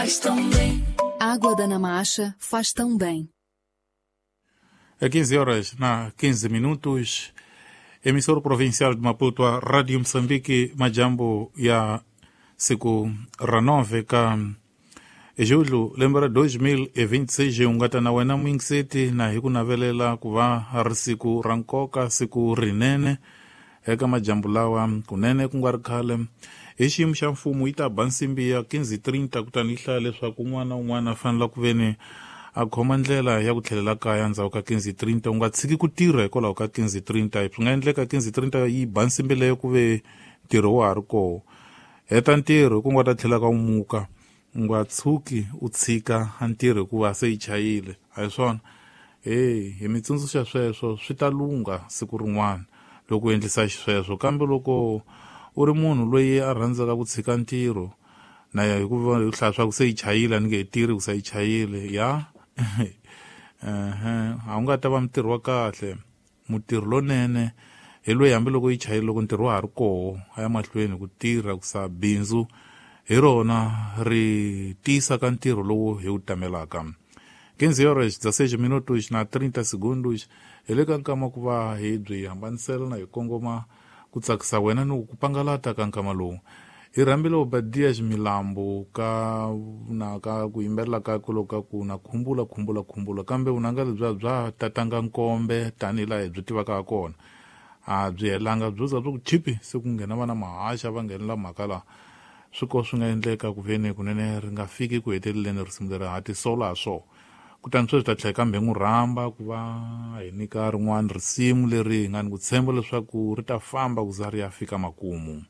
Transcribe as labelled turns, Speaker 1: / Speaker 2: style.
Speaker 1: Faz tão bem. Água da Namacha faz tão bem.
Speaker 2: É 15 horas na 15 minutos. Emissora provincial de Maputo, a Rádio Moçambique, majambo ya siku ra 9 ka julho lembe ra 2026 ungata na wena mwingiseti na hi ku navelela ku va ri siku ra nkoka, siku rinene eka majambu lawa kunene ku nga ri khale. Hi xiyimo xa mfumo yi ta ba nsimbi ya 15:30, kutani yi hlaya leswaku un'wana na un'wana a fanele ku veni a khoma ndlela ya ku tlhelela kaya ndzhaku ka 15:30. U nga tshiki ku tirha hikwalaho ka 15:30. Swi nga endleka 15:30 yi ba nsimbi leyo ku ve ntirho wa ha ri koho. Heta ntirho ku nga ta tlhela ka u muka. U nga tshuki u tshika ntirho hikuva se yi chayile, a hi swona? Hey, hi mi tsundzuxa sweswo, swi ta lungha siku rin'wana loko u endlisa xisweswo. Kambe loko u ri munhu loyi a rhandzaka ku tshika ntirho na ya hikuva hi hlaya swa ku se yi chayile, a ni nge he tirhi ku se yi chayile ya ehe, a wu nga ta va mutirhi wa kahle. Mutirhi lonene hi loyi hambiloko yi chayile, loko ntirho wa ha ri koho a ya mahlweni ku tirha, ku sa bindzu hi rona ri tiyisa ka ntirho lowu hi wu tamelaka. 15 horas 16 minutos na 30 segundos. Hi le ka nkama ku va hi byi hambanisela na hi kongoma ku tsakisa wena ni ku pangalata ka nkama lowu. Hi rhambile Obadias Milambo ka na ka ku yimbelela ka ku loko ka ku na khumbula khumbula khumbula, kambe vunanga lebya bya tatanga nkombe tanihi laha hi byi tivaka ha kona a byi helanga, byo za byo ku chipi se ku nghena vana mahaxa va nghenela mhaka laha. Swi ko swi nga endleka ku veni kunene ri nga fiki ku heteleleni risimu leri ha tisola ha swona. Kutani sweswi ta tlhela kambe hi n'wi rhamba ku va hi nyika rin'wana risimu leri hi nga ni ku tshemba leswaku ri ta famba ku za ri ya fika makumu.